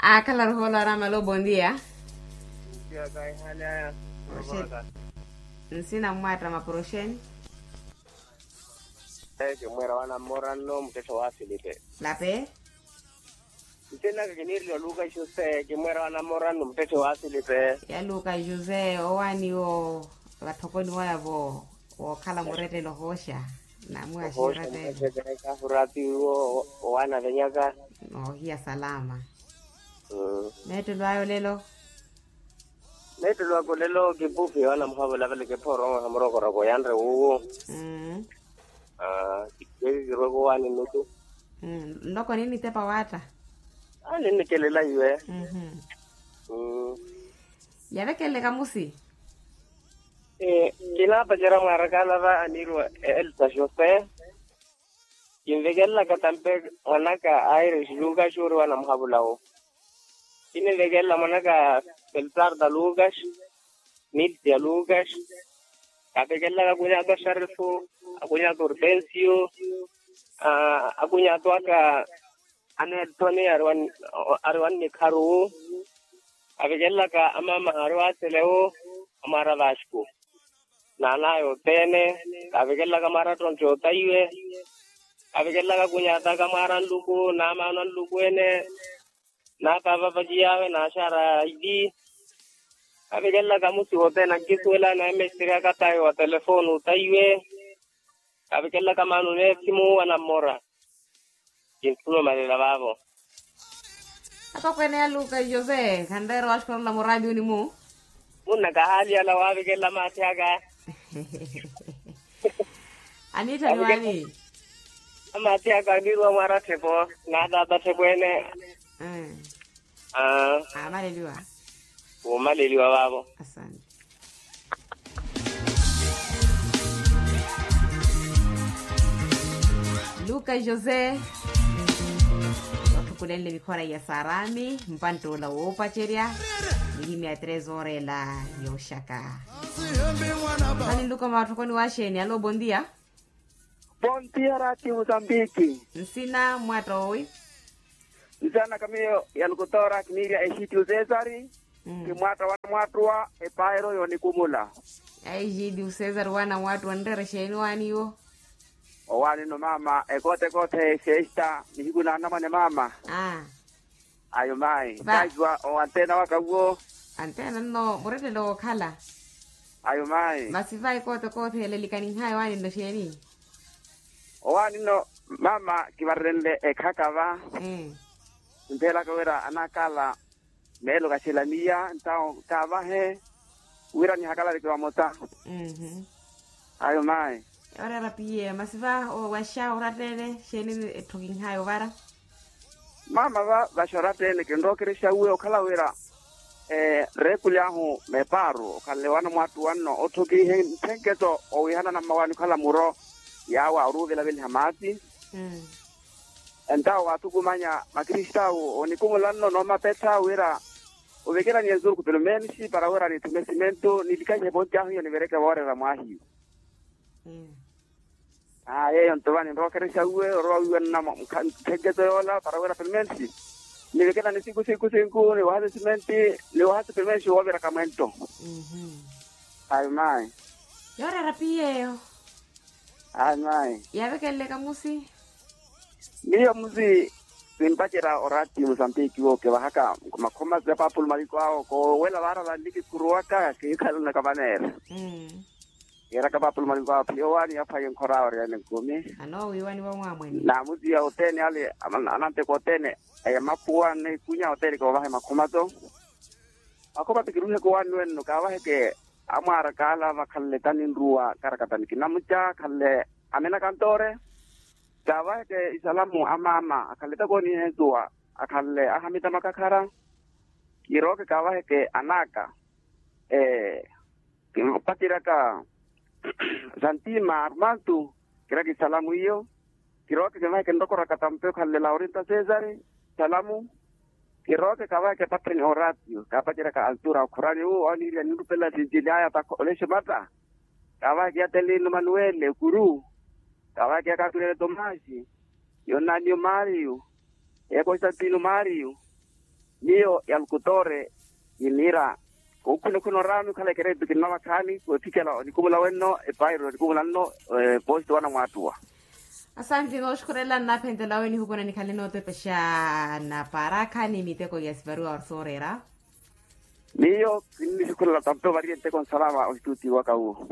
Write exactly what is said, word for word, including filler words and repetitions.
Aakhala rohoolo araama alo bondia. Nsina mmwatta mapuro oxeeni? Kimwera wana mmora nno muttetthe wa filipe. Lape. Nsinaka kiniireliwa luka jose kimwera wana mmora nno muttetthe wa filipe. Ya luka jose owaani wo vatthokoni waya vo wookhala murettelo ohooxa. Namuwaxiira tteelo. Owaana venyaka. Noohiya salama. Meettelo ayo lelo. Meettelo ako lelo kipupi wana muhavula vale kiphooro omuha murokoroko yanre wuwo. Kekikirweke owaani nnutu. Nloko ninitepa waatta. Ninikelela iwe. Yavekelele kamusi. Kinaapacera mwaarakaala va aniiriwa elsa jose. Kinvekelelaka tampe mwanaka aires lukas ori wana muhavula wo. Kininvekelela mwanaka feltarda lukas, miltia lukas. Kavekelelaka akunyato a xarifu, akunyato a orpensio, akunyato aka a neltoni ari wa nnikharu. Kavekelelaka amaama ari wa selewo, amwaara vasku. Naanaya othene. Kavekelelaka mwaara ttontte otaiwe. Kavekelelaka kunyataka mwaara nluku n'amaano a nluku ene. N'apaapa vaciyawe n'axaara aili. Kavekelelaka musi wothene ankisuwela n'emesiteryaka tayo wa telefoni otaiwe. Kavekelelaka maano n'esimu wana mmora. Kintthuna omalela vaavo. Atokweene ya luka jose khanreera owaxukarula muraationi mu. Munna kahaali yala waavikela maathi aka. Aniittha ni waani? Amaathi aka aniiruwa mwaara tthepo. Naataata tthepo ene. Aamaleliwa. Wuumaleliwa vaavo. Asante. Luka jose. Otthukulenle mikhora ya saarami mpantt'ola woopacerya. Mihimya ya tres hora ela yooxaka. Mani nluka mwaatthokoni wa xeeni alo bondia. Pontiya raati musambiki. Nsina mmwatta owi? Nsina naka miyo ya lukutora kiniirya exitiu cesari. Kimwatta wana mwaattuwa epaero yoonikumula. Exitiu cesari wana mwaattuwa nreera exeeni owaani iwo? Owaani nno maama ekoote ekoote exesta nihiku na anamwane maama. Ayo mayi kaahiwa o antena waka uwo. Antena nno murettelo wookhala. Ayo mayi masi vayi koote koothele likaninhayi owaani nno xeeni? Owaani nno maama kivarerenle ekhaka va. Kinthelaka wira anakala meelo kaxelaniya ntawo kaavahe wira nihakalale kivamotta. Ayo mayi. Yoreera piyeyo masi va owaxa orattene xeeni etthu kinhaya ovara? Maama va vaxa orattene kinrookerexa uwe okhala wira reekuli ahu meparu okhanle wana mwaattuwa nno otthokihe nthenketo owihanana mmawaani okhala muro yaawa oruuvelaveliha maasi. Entawo waathukumanya makristawu onikumula nno noomapetha wira ovekeraniye nsurukhu pelo mensi para wira nithume simentu nilikahihe ponti ahu iyo nivereke voorera mwaahiyu. Aa yeeyo nto va ninrookerexa uwe orowa wiiwanana mukha nthenketo yoola para wira pelo mensi nivekerani siku siku sinku niwahase simenti niwahase pelo mensi wooviraka mwento. Ayo mayi. Yooreera piyeyo. Ayi mayi. Yaavekelele kamusi? Miyo musi kimpacerya oraati musambiki wo kivahaka makhomazi ya paapulu maliko awo koowela vaara vanli kikhuruwaka kiikhalanaka vaneera. Kiiraka paapulu maliko awo phiyo owaani yaphwaya enkhora awo oriyana enkumi. Anoowiiwaniwa omwaamwene. Naamuziya othene ale ananteko othene aya maphuwa nikunya othene kiwavahe makhomato. Makhomato kiruheke owaani wenno kaavaheke amwaaraka ala vakhanle taninruwa karakatani kinamuca akhanle amena kantoore. Kaavaheke isalamu a maama akhanle takoonihensuwa akhanle ahamita makakhara. Kirooke kaavaheke anaka kimpatiraka santima armantu. Kiraka isalamu iyo. Kirooke kivaheke nrokoraka tampe okhanle laurinta cesari salamu. Kirooke kavaheke patheni oraatiyo kaapaceraka altura okhorani wu oniirya ninrupelela sinjili aya ta olexo mata. Kavaheke ya telino manuwele kuru. Kavaheke ya kakulele tomasi. Yonaniyo mariyo. Ya konstantino mariyo. Miyo ya lukutore kiniira, kookhuna okhuna oraami okhala ekeretu kinnava khaani weephicela onikumula wenno epairo onikumula nno. Poositi wana mwaattuwa. Asanti nooxukhurela nnaaphentelaawe nihukuna nikhale nootepexa napaara khaani miteko ya sivaruwa sooreera. Miyo kinnixukhurela tampe ovariye nteko nsalama oxituutiwaka wu.